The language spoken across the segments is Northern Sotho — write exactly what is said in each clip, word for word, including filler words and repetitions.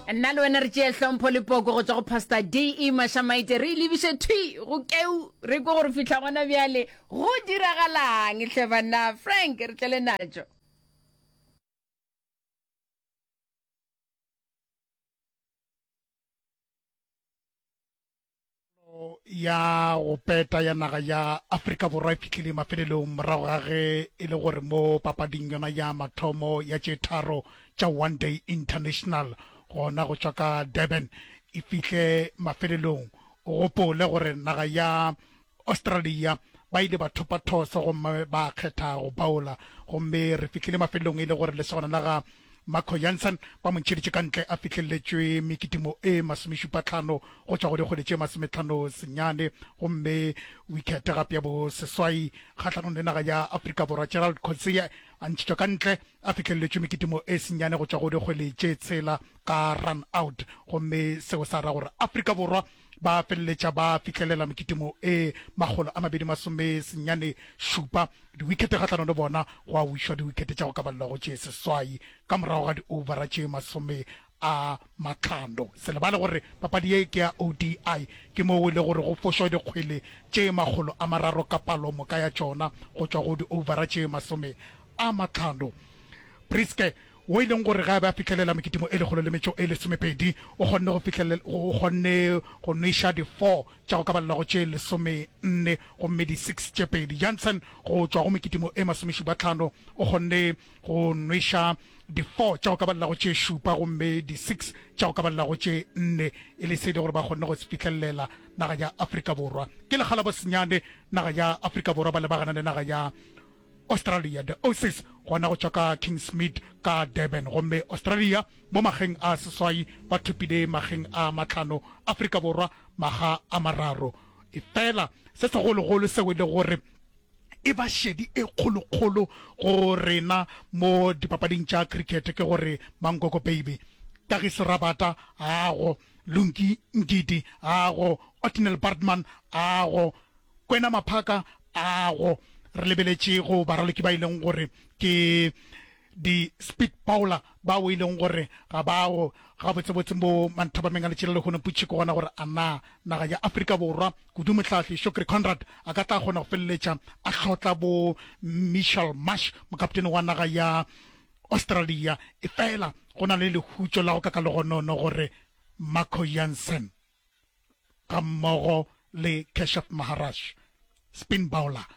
Nna le wena re tšee hlompho le poko go tšwa go Pastor D E Mashamaite, re e lebiše thwi go keu, re kwe gore fihla gona bjale go diragalang hle banna. Frank, re tlele natšo. Ya go peta ya naga ya Afrika Borwa e fihlile mafelelong morago ga ge e le gore mo papading yona ya mathomo ya tše tharo tša One Day International gona go tšwa ka Durban e fihle mafelelong. O gopole gore naga ya Australia ba ile ba thopa thoso gomme ba kgetha go baola, gomme re fihlile mafelelong e le gore lesogana la ga Marco Jansen ba mo ntšheditše ka ntle a fihleletšwe mekitimo e masomešupatlhano go tšwa go dikgwele tše masometlhano senyane, gomme wicket gape ya bo seswai kgahlanong le naga ya Afrika Borwa. Gerald Coetzee a ntšhitšwe ka ntle a fihleletšwe mekitimo e senyane go tšwa go dikgwele tše tshela ka run out, gomme seo sa ra gore Afrika Borwa ba feleletša ba fihlelela mekitimo e makgolo a mabedi masome senyane šupa diwikete kgahlanong le bona, go a wišwa diwikete tša go ka balelwa go tše seswai ka morago ga di-overa tše masome a mahlano. Se lebale gore papadi ye ke ya O D I, ke moo e le gore go fošwa dikgwele tše makgolo a mararo ka palo moka ya tšona go tšwa go di-overa tše masome a mahlano. Briske, wo e leng gore ge a be a fihlelela mekitimo e lekgolo le metšo e lesomepedi, o kgonne go fihlele, o kgonne go nweša di-four tša go ka balelwa go tše lesomenne gomme di-six tše pedi. Jansen go tšwa go mekitimo e masomešupatlhano o kgonne go nweša di-four tša go ka balelwa go tše šupa gomme di-six tša go ka balelwa go tše nne, e le se e le gore ba kgonne go se fihlelela naga ya Afrika Borwa. Ke lekga la bosenyane naga ya Afrika Borwa ba lebagana le naga ya Australia, the Aussies, gona go tšwa ka Kingsmead ka Durban, gomme Australia mo mageng a seswai ba thopile mageng a mahlano, Afrika Borwa maga a mararo. Efela se segologolo seo e le gore e ba šedi e kgolokgolo go rena mo dipapading tša cricket ke gore Mankoko Baby, Kagiso Rabada ago, Lungi Ngidi ago, Ottneil Baartman ago, Kwena Maphaka ago. Re lebeletše go baraloki ba e leng gore ke di-speed bowler bao e leng gore ga bao gabotsebotse mo manthabameng a letšela lehono putšhe ke gona gore a na naga ya Afrika Borwa kudu mohlahli Shukri Conrad a ka tla kgona go feleletša a hlotla bo Mitchell Marsh mokaptene wa naga ya Australia. Efela go na le lehutšo la go ka ka legonono gore Marco Jansen ga mmogo le Keshav Maharaj spin bowler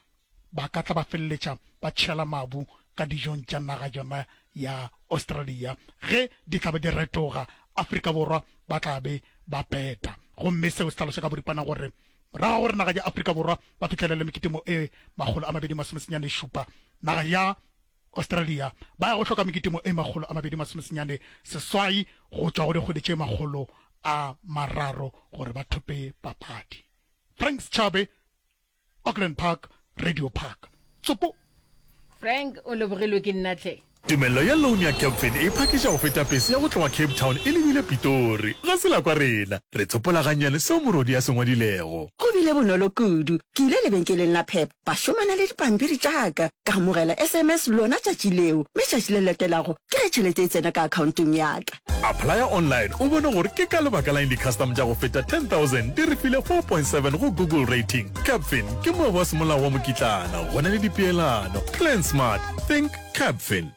ba ka tla ba feleletša ba tšhela mabu ka dijong tša naga yona ya Australia. Ge di tla be di retoga, Afrika Borwa ba tla be ba peta. Gomme seo se hlaloša ka boripana gore morago ga gore naga ya Afrika Borwa ba fihlelele mekitimo e makgolo a mabedi masomesenyane šupa, naga ya Australia ba ya go hloka mekitimo e makgolo a mabedi masomesenyane seswai go tšwa go dikgwedi tše makgolo a mararo gore ba thope papadi. Frank Schabe, Auckland Park, Radio Park. Tsopo. Frank, o lebogilwe ke nna hle. Tumelelo ya loan ya Capfin e phakiša go feta pese ya go tloga Cape Town e lebile Pitori. Ga se la kwa rena. Re tsopola gannyane seo morodi a se ngwadilego. Go bile bonolo kudu. Ke ile lebenkeleng la Pep, ba šomana le dipampiri tša ka, ka amogela S M S lona tšatši leo, mme tšatši le latelago ke ge tšhelete e tsena ka akhaontong ya ka. Applya online o bone gore ke ka lebaka la eng di-custom tša go feta ten thousand di re file four point seven go Google rating. Capfin ke moabi wa semolao wa mokitlana, go na le dipeelano. Plan smart, think Capfin.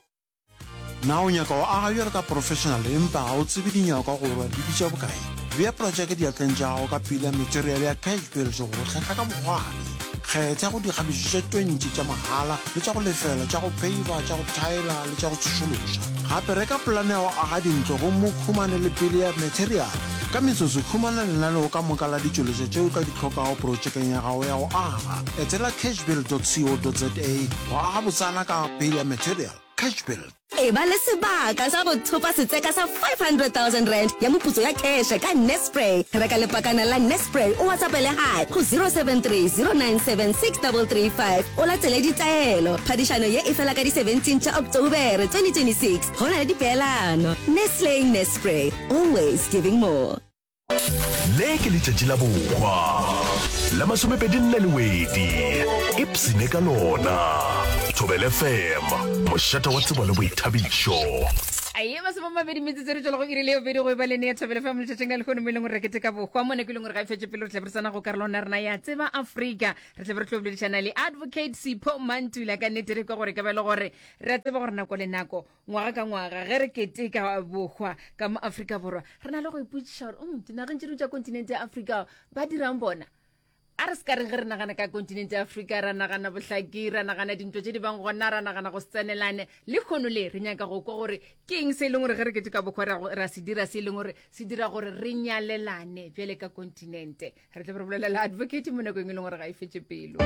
Na o nyaka go aga bjalo ka professional empa ga o tsebe dinyakwa goba di bitša bokae? Bea projeke diatleng tša gago ka pila material ya Cash Build go go hlahla ka bokgwari. Kgetha go dikgabišo tše twenty tša mahala le tša go lefela tša go peiva, tša go thaela le tša go tsošološa. Gape reka polane ya go aga dintlo gomme o humane le pele ya material. Ka metsotso, humana lenaneo ka moka la ditšweletšwa tše o tla di hlokago projekeng ya gago ya go aga. Etela cashbuild dot co dot za go aga botsana ka pele ya material. Cashbuild. Eba le sebaka sa go thopa setseka sa five hundred thousand rand ya moputso ya kheshe ka Nespray. Reka lepakana la Nespray o WhatsAppele Hi go zero seven three zero nine seven six double three five o latele ditaelo. Phadišano ye e fela ka di seventeen tša Oktobere twenty twenty six. Go na le dipeelano. Nestle Nespray, always giving more. Le ke letšatši la bohwa la masomepedi nne Lewedi. Ipsene ka lona. Thobela F M, mošate wa tsebo le boithabišo. Aye, masomamabedi metsotso re tšwela go iri le bobedi go e ba lene ya Thobela F M letšatšing la lehono mo e leng gore re keteka bohwa mo nako e leng gore ga e fetše pele re tle re tsena go karolwana ya rena ya Tseba Afrika. Re tle re tlo boledišana le Advocate Sipho Mantula ka nnete re kwa gore ka ba e le gore re a tseba gore nako le nako ngwaga ka ngwaga ge re keteka bohwa ka mo Afrika Borwa re na le go ipotšiša gore mm, dinageng tše dingwe tša kontinente ya Afrika ba dirang bona. A re se ka reng ge re nagana ka kontinente ya Afrika, ra nagana bohlaki, ra nagana dintwa tše di bang gona, ra nagana go se tsenelane. Lehono le re nyaka go kwa gore ke eng se e leng gore ge re keteka bohwa ra, ra se dira se e leng gore se dira gore re nyalelane bjale ka kontinente. Re tla be re bolela le advocate mo nakong e leng gore ga e fetše pelo.